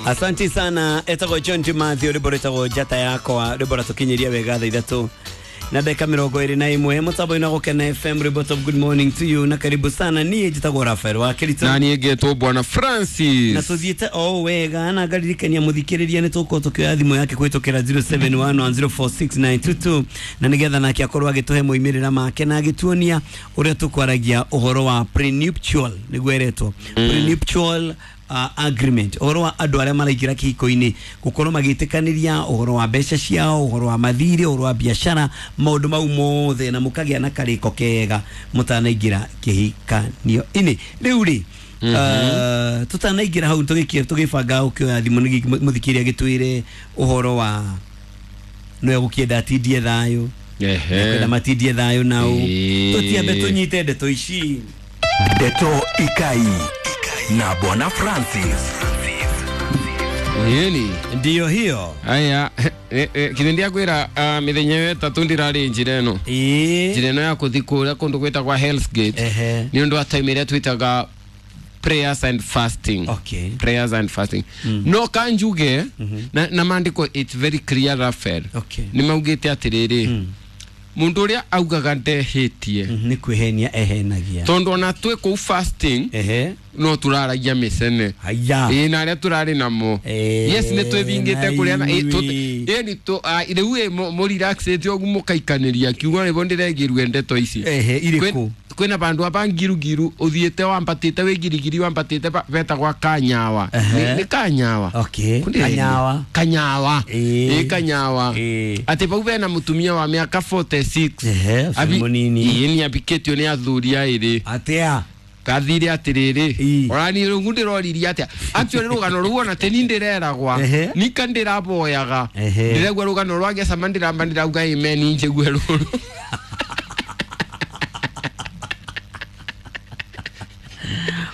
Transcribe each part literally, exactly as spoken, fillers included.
Asante sana etagwo John Timathio rwimbo rwĩtagwo Njata Yakwa, rwimbo ratukinyiria wega thaa ithatũ na ndagĩka mĩrongo ĩrĩ na ĩmwe mũtambo-inĩ wa Gũkena F M. Rwimbo top good morning to you na karibu sana. Niĩ njĩtagwo Rafael wa Kĩritũ na niĩ ngetwo Bwana Francis, na tũthiĩte o wega na ngaririkania mũthikĩrĩria nĩ tũgũkorwo tũkĩoya thimũ yake kũhĩtũkĩra zero seven one one zero four six nine two two na nĩgetha nake akorwo agĩtũhe moimĩrĩra make na agĩtuonia ũrĩa tũkwaragia ũhoro wa prenuptial, nĩguo ĩretwo prenuptial Uh, agreement, ũhoro wa andũ arĩa maraingĩra kĩhiko-inĩ gũkorwo magĩtĩkanĩria ũhoro wa mbeca ciao, ũhoro wa mathirĩ, ũhoro wa biacara, maũndũ mau mothe, na mũkagĩa na karĩko kega mũtanaingĩra kĩhikanio-inĩ. Rĩu rĩ, uh, tũtanaingĩra hau tũgĩkia tũgĩbanga ũkĩoya thimũ mũthikĩrĩria agĩtwĩre ũhoro wa nĩwe gũkĩenda atindie thayũ, ehe, matindie thayũ nao, tũtiambe tũnyite ndeto ici. Ndeto Ikai na Bwana Francis. Yeni ndio hiyo. Aya, kinendia kwira uh, mithenya ĩtatũ ndirarĩ njĩra ĩno njĩra ĩno ya kũthi kũrĩa kũndũ gwĩtagwo Hell's Gate nĩ ũndũ wa time ĩrĩa twĩtaga prayers and fasting. Okay. Prayers and fasting. Mm. No kanjuge mm -hmm. na, na maandĩko it's very clear Rafael. Okay. Nĩ maugĩte atĩrĩrĩ mm. mundu uria augaga ndehitie mm, ni kwihenia ehenagia tondu ona twi kuu fasting ehe no turaragia micene haya ĩ na aria turari namo yes ni twithingite kuria na ĩ ni tu riu ĩ mu relaxete ogu mukaikaniria kiugo nibo ndiregirwe ndeto ici ehe iriku kwina bandu aba ngirugiru uthiite wambatite wi girigiri wambatite betagwa Kanyawa ni Kanyawa. Okay. Kanyawa Kanyawa ĩ Kanyawa ati bau bena mutumia wa miaka forty six ehe munini ĩ ni abiketio ni athuri airi atia kathire atiriri orani rungu ndiroririe atia actually rugano ruu ona teni ndireragwa nika ndiraboyaga ndiregua rugano rwa gecama ndiramba ndirauga amen njigue ruru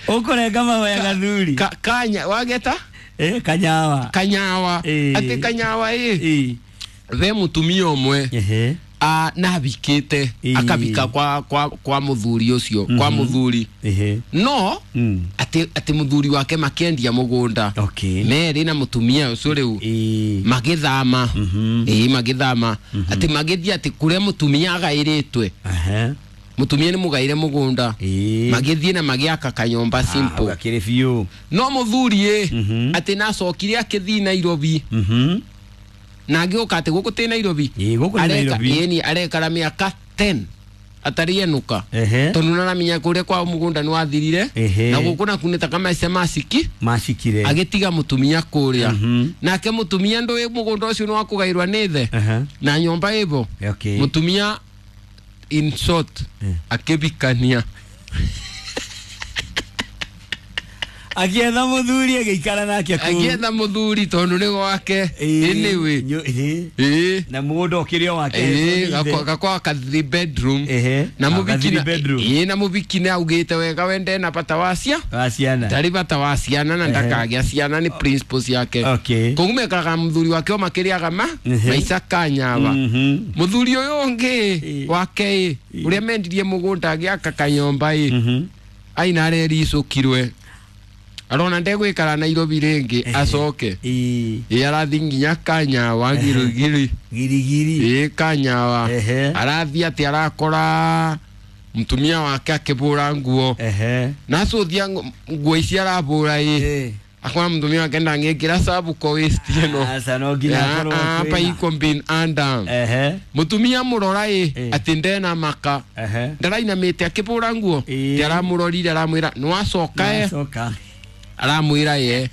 ukorenga mahoya gathuri ka, kanya wageta eh Kanyawa Kanyawa ati Kanyawa eh ve mutumia umwe ehe a na bikite akabika kwa kwa kwa muthuri ucio mm -hmm. kwa muthuri ehe no mm. ati ati muthuri wake makiendia mugunda okay. Meri na mutumia ucio riu magithama mm -hmm. eh magithama mm -hmm. ati magithia ati kuria mutumia agairitwe ehe mutumia ni mugaire mugunda magithie na magiaka kanyomba simple ah, akiri biu no muthuri e mm -hmm. ati nacokire akithi Nairobi mm -hmm. na agĩũka atĩ gũkũ tĩ Nairobi gũkũ nĩ Nairobi ĩni arekara mĩaka ten atari enuka tondu naramenya kũrĩa kwao mũgũnda nĩ wathirire na gũkũ naku nĩ ta kamaica maciki macikire agĩtiga mũtumia kũrĩa mm -hmm. nake mũtumia ndũĩ mũgũnda ũcio nĩ wakũgairwa nĩ the na nyũmba ĩbo okay. Mũtumia in short yeah. akĩbikania akietha muthuri agĩikara nake kũu akietha muthuri tondu nĩ gwake anyway ĩ na mũgũnda ũkĩrĩ o wake ĩ gakwa ka three bedroom na mũbiki ĩ na mũbiki nĩ augĩte wega wende na bata wa cia wa ciana ndarĩ bata wa ciana na ndakagĩa ciana nĩ principles ciake okay koguo mekaraga muthuri wake o makĩrĩaga ma maica Kanyawa muthuri ũyũ ũngĩ wake ĩ ũrĩa mendirie mũgũnda agĩaka kanyomba ĩ aina arericũkirwe arona ndegwikara Nairobi ringi acoke ĩ arathi nginya Kanyawa girigiri girigiri ĩ Kanyawa arathi ati arakora mutumia wake akibura nguo na acuthia nguo ici arabura ĩ akora mutumia wake ndangĩkĩra sabuko waist ĩno aca no nginya akorwo apa iko bin under mutumia murora ĩ ati ndena maka ndarainamĩte akibura nguo ti aramurorire aramwĩra nĩwacoka e aramwira ye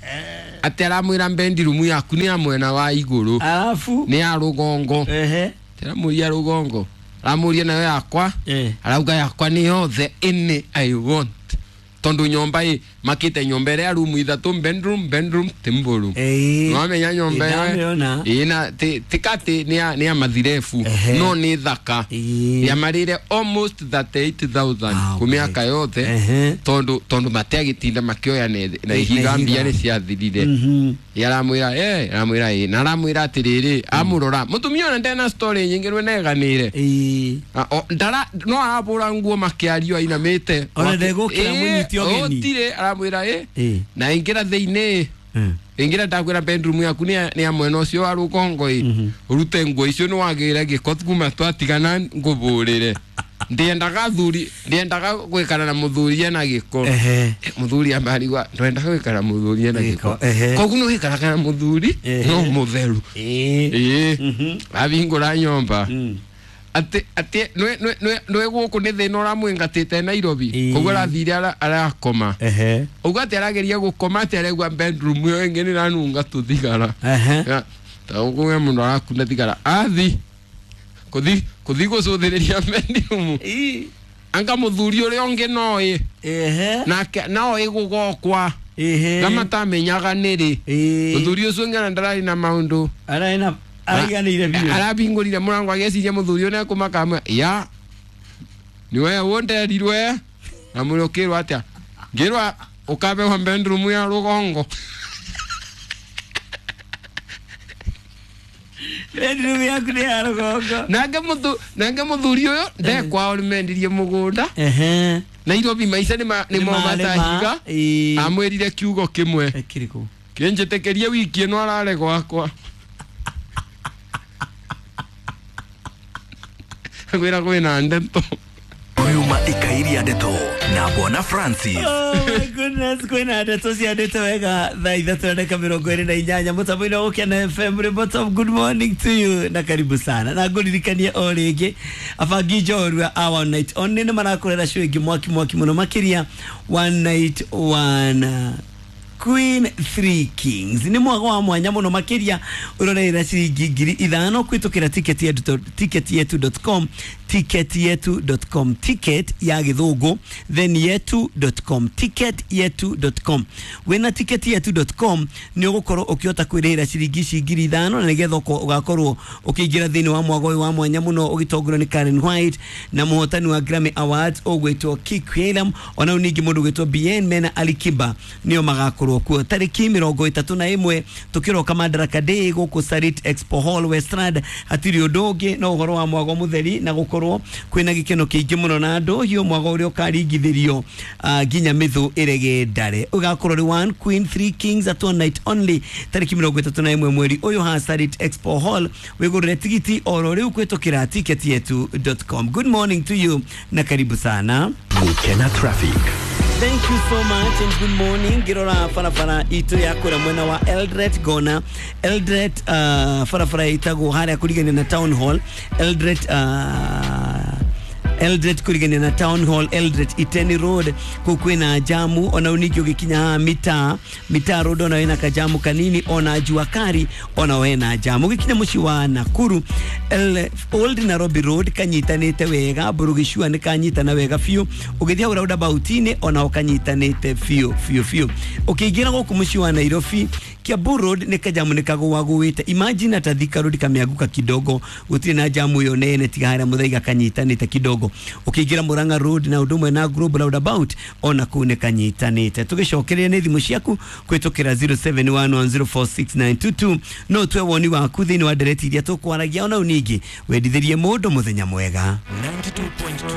ati aramwira mbendi rumu yaku ni ya mwena wa iguru alafu ni ya rugongo ehe tiramuria rugongo aramuria nayo yakwa arauga yakwa ni yothe ini I want tondu nyomba i makite nyomba ria rumu ithatu bedroom bedroom timburu nwamenya nyomba ĩ na tikati ni ya ni ya mathirefu no ni thaka ya marire almost thirty eight thousand kumiaka yothe tondu tondu matiagitinda makioya na ihiga mbia ni ciathirire yaramwira eh aramwira ĩ na aramwira atiriri amurora mutumia ona ndena story nyingi rwe neganire ndara no arabura nguo makiario ainamite ona ndegukira munyiti ogeni otire aramwira ĩ na ingira thiini Ingira ndakwira bedroom yaku ni ni ya mwena ucio wa rugongo i urute nguo icio ni wagire giko kuma twatigana ngubũrĩre ndiendaga thuri ndiendaga gwikara na muthuri ena giko. Ehe. Muthuri ambarigwa ndwendaga gwikara muthuri ena giko. Ehe. Koguo ni wikaraga na muthuri Ehe. no mutheru. Ĩĩ. Ĩĩ. Mhm. Abingũra nyomba Mm. ati ati nwe nwe nwe nwe guku ni thina uramwingatite Nairobi. Ĩĩ. Koguo arathire ara- arakoma. Ehe. Uguo ati arageria gukoma ati aregua bedroom ĩyo ĩngĩ nĩ ĩranunga tũthigara. Ehe. Ya, ta ũguo mũndũ arakunda thigara athi kuthi kuthi gucuthĩrĩria bedroom. Ĩĩ. Anga mũthuri ũrĩa ũngĩ noĩ Ehe. nake noĩ gũgokwa Ehe. na matamenyaga nĩrĩ. Ĩĩ. Mũthuri ũcio ũngĩ ona ndararĩ na maũndũ. Ararĩ na araiganĩire biũ. Arabingũrire mũrango ageciria mũthuri ũyũ nĩekũmaka amwe ya nĩwe wonderirwe na mwĩra ũkĩrwo atĩa ngĩrwa ũkabewa bedroom ya rũgongo. Bedroom yaku nĩ ya rũgongo. Nake mũthu nake mũthuri ũyũ ndekwao nĩmendirie mũgũnda. Ehe. Nairobi maica nĩma nĩmomatahiga. Ĩĩ. Amwĩrire kiugo kĩmwe. Kĩrĩkũ? Kĩnjĩtĩkĩrie wiki ĩno arare gwakwa. Ngwĩra kwĩna ndeto. Yuma ikairia ndeto na Bwana Francis. Oh my goodness, kwĩna ndeto ciandĩte wega thaa ithatũ na ndagĩka mĩrongo ĩrĩ na inyanya mũtambo-inĩ wa Gũkena F M. Remote, good morning to you na karibu sana na ngũririkanie o rĩngĩ abangi njorua a one night only nĩ marakũrera show ĩngĩ mwaki mwaki mũno makĩria one night one Queen Three Kings ni mwago wa mwanya muno makiria uroreira ciringi ngiri ithano kwitukira ticket yetu ticket yetu dot com ticket yetu dot com ticket ya githungu then yetu dot com ticket yetu dot com wina ticket yetu dot com ni ugukorwo ukiota kwirihira ciringi ici ngiri ithano na nigetha ugakorwo ukiingira thiini wa mwago uyu wa mwanya muno ugitongorio ni Karen White na muhotani wa Grammy Awards ugwitwo Kik William ona ningi mundu ugwitwo B N mena Ali Kiba nio magakorwo kuo tariki mirongo itatu na imwe tukiroka Madaraka Day guku Sarit Expo Hall Westland hatiri undu ungi no uhoro wa mwago mutheri na gukorwo kwina gikeno kiingi muno na andu hiyo mwago uria ukaringithirio nginya mithu irege ndare ugakorwo ri one queen three kings at one night only tariki mirongo itatu na imwe mweri uyu ha Sarit Expo Hall wigurire tigiti oro riu kwitukira ticket yetu dot com. Good morning to you na karibu sana Gukena traffic. Thank you so much and good morning. Girora farafara itu ya kura mwena wa Eldred Gona. Eldred uh, farafara itago haria kurigania na Town Hall. Eldred uh, Eldred kurigania na Town Hall, Eldred Iteni Road kukwina jamu ona uniki ugikinya mita mita road ona wena kajamu kanini ona jua kari ona wena jamu ugikinya muci wa Nakuru El, Old Nairobi Road kanyitanite wega burugicua ni kanyitana wega fiu ugithia hau roundabout-ini ona ukanyitanite fiu fiu fiu ukiingira guku muci wa Nairobi Kiambu Road ni kajamu ni kagwagwite imagine ata Thika Road kamianguka kidogo gutire na jamu yo nene tiga haria Muthaiga kanyitanite kidogo ukiingira Murang'a Road na undu mwe na Global roundabout ona kuu ni kanyitanite tugicokereria ni thimu ciaku kwitukira zero seven one one zero four six nine two two no twe woni waku thiini wa ndereti iria tukwaragia ona unigi wendithirie mundu muthenya mwega ninety-two point two.